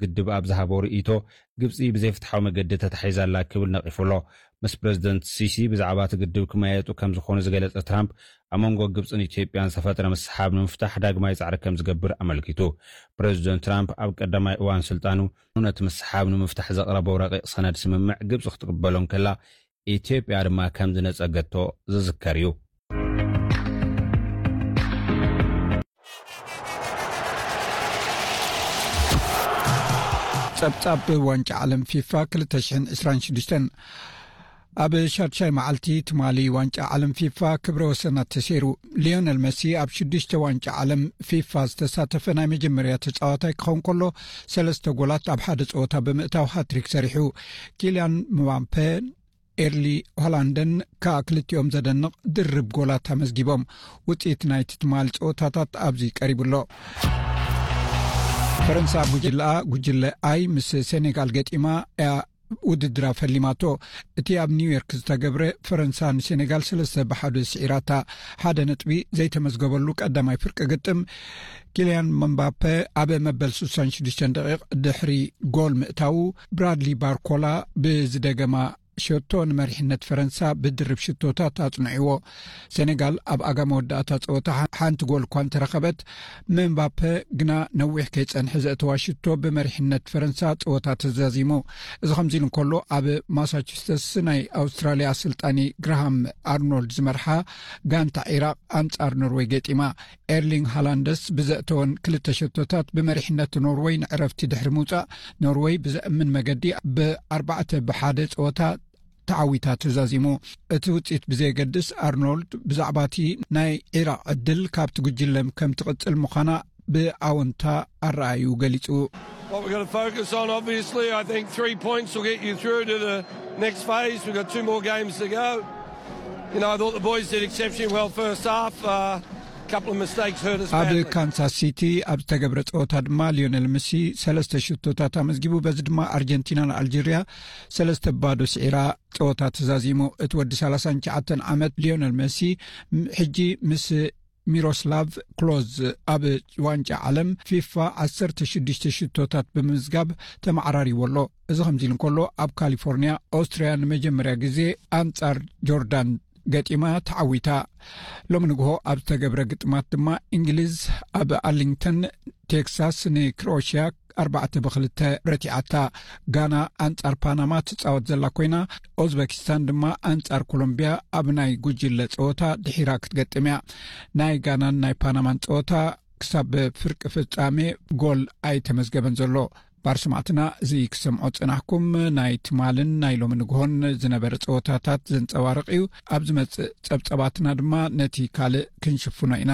ግድብ ኣብ ዝሃቦ ርእይቶ፣ ግብጺ ብዘይፍትሓዊ መገዲ ተታሒዛ ኣላ ክብል ነቒፉ ኣሎ። ምስ ፕረዚደንት ሲሲ ብዛዕባ እቲ ግድብ ክመያየጡ ከም ዝኾኑ ዝገለጸ ትራምፕ፣ ኣብ መንጎ ግብጽን ኢትዮጵያን ዝተፈጥረ ምስሓብ ንምፍታሕ ዳግማይ ጻዕሪ ከም ዝገብር ኣመልኪቱ። ፕረዚደንት ትራምፕ ኣብ ቀዳማይ እዋን ስልጣኑ ነቲ ምስሓብ ንምፍታሕ ዘቕረቦ ረቂቕ ሰነድ ስምምዕ ግብጺ ክትቅበሎ እንከላ፣ ኢትዮጵያ ድማ ከም ዝነጸገቶ ዝዝከር እዩ። ጸብጻብ ዋንጫ ዓለም ፊፋ ክልተ ሽሕን ዕስራን ሽዱሽተን። ኣብ ሻድሻይ መዓልቲ ትማሊ ዋንጫ ዓለም ፊፋ ክብረ ወሰናት ተሰይሩ። ሊዮነል መሲ ኣብ ሽዱሽተ ዋንጫ ዓለም ፊፋ ዝተሳተፈ ናይ መጀመርያ ተጻዋታይ ክኸውን ከሎ፣ ሰለስተ ጎላት ኣብ ሓደ ጸወታ ብምእታው ሃትሪክ ሰሪሑ። ኪልያን ምባምፔ፣ ኤርሊ ሆላንድን ከኣ ክልቲኦም ዘደንቕ ድርብ ጎላት ኣመዝጊቦም። ውጽኢት ናይቲ ትማሊ ጸወታታት ኣብዚ ቀሪቡ ኣሎ። ፈረንሳ ኣብ ጉጅለኣ፣ ጉጅለ ኣይ፣ ምስ ሴኔጋል ገጢማ እያ ውድድራ ፈሊማቶ። እቲ ኣብ ኒውዮርክ ዝተገብረ፣ ፈረንሳ ንሴኔጋል ሰለስተ ብሓደ ስዒራታ። ሓደ ነጥቢ ዘይተመዝገበሉ ቀዳማይ ፍርቂ ግጥም፣ ኪልያን ምባፔ ኣብ መበል ስሳን ሽዱሽተን ደቂቕ ድሕሪ ጎል ምእታዉ፣ ብራድሊ ባርኮላ ብዝደገማ ሸቶ ንመሪሕነት ፈረንሳ ብድርብ ሽቶታት ኣጽንዕዎ። ሴኔጋል ኣብ ኣጋ መወዳእታ ጸወታ ሓ-፣ ሓንቲ ጎል እኳ እንተረኸበት፣ ምባፔ ግና ነዊሕ ከይጸንሐ ዘእተዋ ሽቶ ብመሪሕነት ፈረንሳ ጸወታ ተዛዚሙ። እዚ ከምዚ ኢሉ እንከሎ፣ ኣብ ማሳቹስተስ ናይ ኣውስትራልያ ኣሰልጣኒ ግራሃም ኣርኖልድ ዝመርሓ ጋንታ ዒራቕ ኣንጻር ኖርወይ ገጢማ። ኤርሊንግ ሃላንድስ ብዘእተወን ክልተ ሸቶታት ብመሪሕነት ኖርወይ ንዕረፍቲ ድሕሪ ምውጻእ፣ ኖርወይ ብዘእምን መገዲ ብኣርባዕተ ብሓደ ጸወታ ተዓዊታ ተዛዚሙ። እቲ ውጽኢት ብዘየገድስ፣ ኣርኖልድ ብዛዕባ እቲ ናይ ዒራቕ ዕድል ካብቲ ጉጅለ ከም ትቕጽል ምዃና ብኣወንታ ኣረኣዩ ገሊጹ። What we're going to focus on, obviously, I think three points will get you through to the next phase. We've got two more games to go. You know, I thought the boys did exceptionally well first half. Uh, couple of mistakes hurt us ኣብ badly. ካንሳስ ሲቲ ኣብ ዝተገብረ ጸወታ ድማ ሊዮነል መሲ ሰለስተ ሽቶታት ኣመዝጊቡ። በዚ ድማ ኣርጀንቲና ንኣልጀርያ ሰለስተ ባዶ ስዒራ ጸወታ ተዛዚሙ። እቲ ወዲ ሰላሳን ትሽዓተን ዓመት ሊዮነል መሲ ም-፣ ሕጂ ምስ ሚሮስላቭ ክሎዝ ኣብ ዋንጫ ዓለም ፊፋ ዓሰርተ ሽዱሽተ ሽቶታት ብምምዝጋብ ተመዓራሪዎ ኣሎ። እዚ ከምዚ ኢሉ እንከሎ፣ ኣብ ካሊፎርኒያ ኦስትርያ ንመጀመርያ ግዜ ኣንጻር ጆርዳን ገጢማ ተዓዊታ። ሎሚ ንግሆ ኣብ ዝተገብረ ግጥማት ድማ እንግሊዝ ኣብ ኣርሊንግተን ቴክሳስ ንክሮኤሽያ ኣርባዕተ ብክልተ ረቲዓታ። ጋና ኣንጻር ፓናማ ትጻወት ዘላ ኮይና፣ ኦዝበኪስታን ድማ ኣንጻር ኮሎምቢያ ኣብ ናይ ጉጅለ ጸወታ ድሒራ ክትገጥም እያ። ናይ ጋናን ናይ ፓናማን ጸወታ ክሳብ ፍርቂ ፍጻሜ ጎል ኣይተመዝገበን ዘሎ። ባር ሰማዕትና፣ እዚ ክሰምዖ ጽናሕኩም ናይ ትማልን ናይ ሎሚ ንግሆን ዝነበረ ጸወታታት ዘንጸባርቕ እዩ። ኣብ ዝመጽእ ጸብጸባትና ድማ ነቲ ካልእ ክንሽፍኖ ኢና።